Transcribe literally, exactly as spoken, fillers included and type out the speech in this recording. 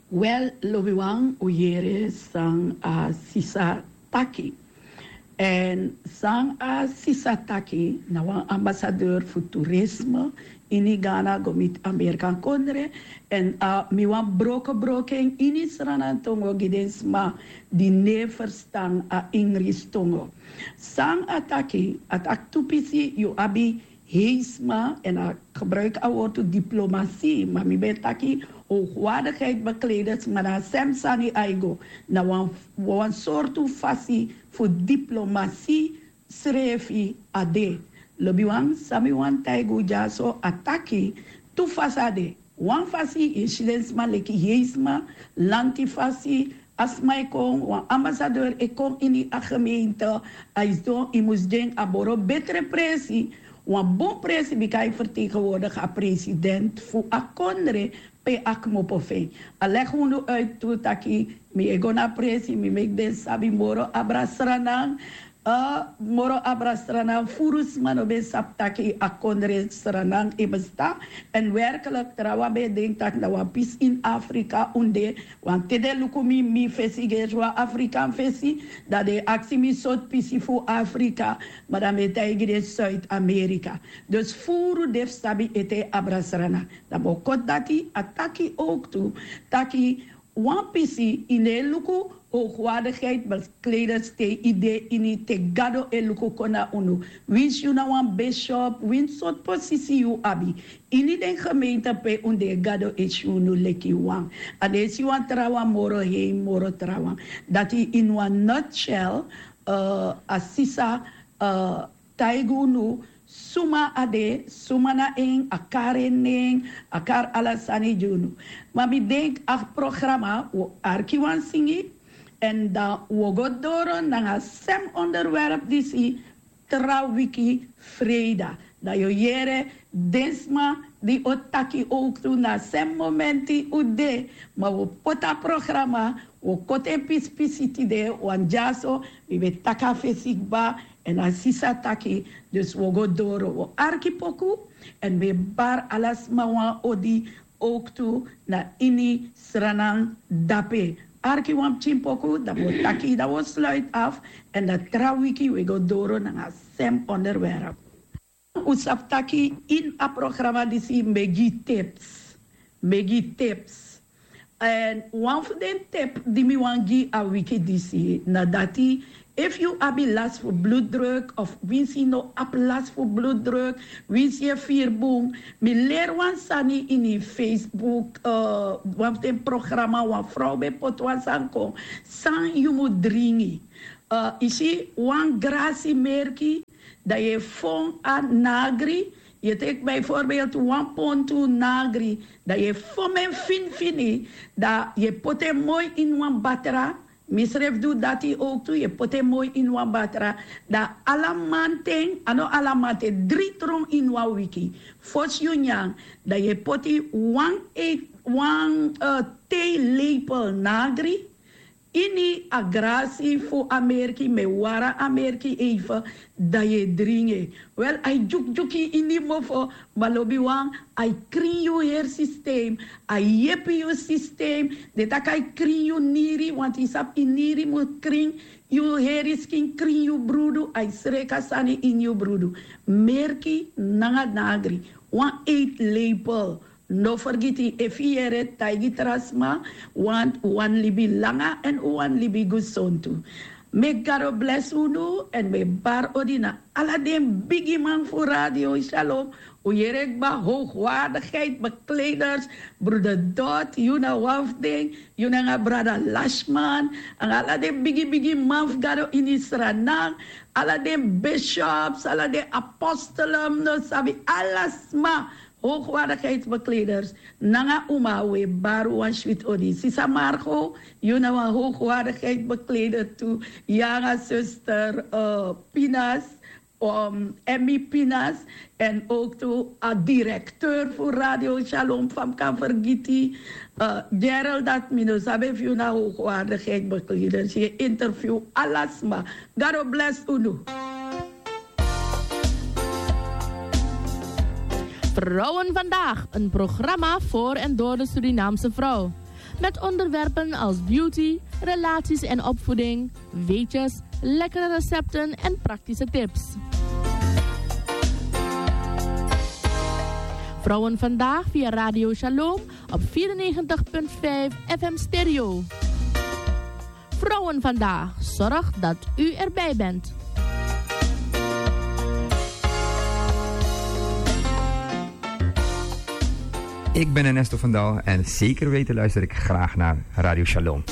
Wel, lobiwan, un yere san a sisa taki. Èn san a sisa taki na wan ambasadeur fu turisme ini Ghana go miti Amerikan kondre. Èn a mi wan broko broko en ini Sranan tongo gi den sma di no e ferstan a Ingris tongo. San a taki, a taki tu pisi yu abi hei sma, èn a gebruik a wortu diplomasi, ma mi ben taki hoogwaardigheid bekleders, ma na a sem sani a e go. Na wan, wan sortu fasi fu diplomasi srefi a de. Lobiwan, san mi wani taigi un dyaso, a taki tu fasi a de. Wan fasi yu e si den sma leki hei sma, lanti fasi, a sma e kon, wan ambasadeur e kon ini a gemeente, a e sidon, yu mus gi en a moro betre presi, wan bun presi, bika yu e vertegenwoordig a president fu a kondre pe a kmopo fu en. A legi unu uit tu taki mi e go na presi, mi meki den sabi moro abra Sranan, eh, moro abra Sranan, furu sma no ben sabi taki a kondre Sranan e bestaan. Èn werkelijk, trawan ben e denki taki na wan pisi ini Afrika un de, want te den luku mi, mi fesi gi wan Afrikan fesi, dan den e aksi mi sortu pisi fu Afrika, ma dan mi e taigi den Zuid-Amerika. Dus furu den fu sabi ete abra Sranan. Dan mi o koti dati, a taki ook tu, taki wan pisi yu no e luku hoogwaardigheid bekleders te yu de ini, te Gado e luku kon na unu. Winsi yu na wan bishop, winsi sortu posisi yu abi ini den gemeente pe un de, Gado e si unu leki wan. A no e si wan trawan moro hei, moro trawan. Dati in wan nutshell, eh, a sisa, eh, taigi unu suma a de, suma na en, a kari en nen, a kari ala sani gi unu. Ma mi denki a programa, wi o arki wan singi, èn dan wi o go doro nanga sem onderwerp disi tra wiki freida. Dan yu o yere den sma di o taki ook tu na sem momenti un de, ma wi o poti a programa, wi o koti en pisi pisi tide, want dyaso mi ben taki a fesi kba, èn a sisa taki, dus wi o go doro, wi o arki poku, èn mi e bari ala sma wan odi ook tu na ini Sranan dape. Arki wan pikin poku, dan wi o taki, dan wi o sluit af, èn dan tra wiki wi e go doro nanga sem onderwerp. Un sabi taki ini a programa disi mi e gi tips. Mi e gi tips. Èn wan fu den tip di mi wani gi a wiki disi na dati, efu yu abi lasi fu bloeddruk of winsi yu no abi lasi fu bloeddruk, winsi yu e firi bun, mi leri wan sani ini Facebook, eh, wan fu den programa, wan frow ben poti wan sani kon, san yu mu dringi. Eh, yu si wan grasi merki, dan yu e fon a nagri, yu e teki bijvoorbeeld wan pontu nagri, dan yu e fon en finifini, dan yu e poti en moi ini wan batra, mi srefi du dati ook tu, yu e poti en moi ini wan batra, dan ala manten, a no ala manten, dri tron ini wan wiki, fosi yu nyan, dan yu e poti wan e, wan, eh, theelepel nagri, ini a grasi fu a merki, mi e wara a merki even, dan yu e dringi en. Wel, a e dyukudyuku ini mofo, ma lobiwan, a e krin yu heri systeem, a e yepi yu systeem, den taki a e krin yu niri, want yu sabi yu niri mu krin, yu heri skin krin yu brudu, a e sreka sani ini yu brudu. Merki nanga nagri, wan eetlepel. No fergiti, efu yu yere, taigi tra sma, want un wani libi langa èn un wani libi gesontu. Meki Gado blesi unu, èn mi e bari odi na ala den bigiman fu Radio Shalom. Un yere kba, hoogwaardigheid bekleders, broeder Dot, yu na wan fu den, yu nanga brada Lashman, nanga ala den bigi bigi man fu Gado ini Sranan, ala den bishops, ala den apostelen, no sabi, ala sma, hoogwaardigheidsbekleders, nanga uma, un e bari wan switi odi. Sisa Margo, yu na wan hoogwaardigheidsbekleder tu, yu nanga zuster, eh, Pinas, um, Emmy Pinas, en ook tu a directeur fu Radio Shalom, fa mi kan fergiti, eh, Gerald, dati mi no sabi efu yu na hoogwaardigheidsbekleder, yu e interview ala sma. Gado blesi unu. Vrouwen vandaag, een programma voor en door de Surinaamse vrouw. Met onderwerpen als beauty, relaties en opvoeding, weetjes, lekkere recepten en praktische tips. Vrouwen vandaag via Radio Shalom op vierennegentig punt vijf F M Stereo. Vrouwen vandaag, zorg dat u erbij bent. Ik ben Ernesto van Dal en zeker weten luister ik graag naar Radio Shalom.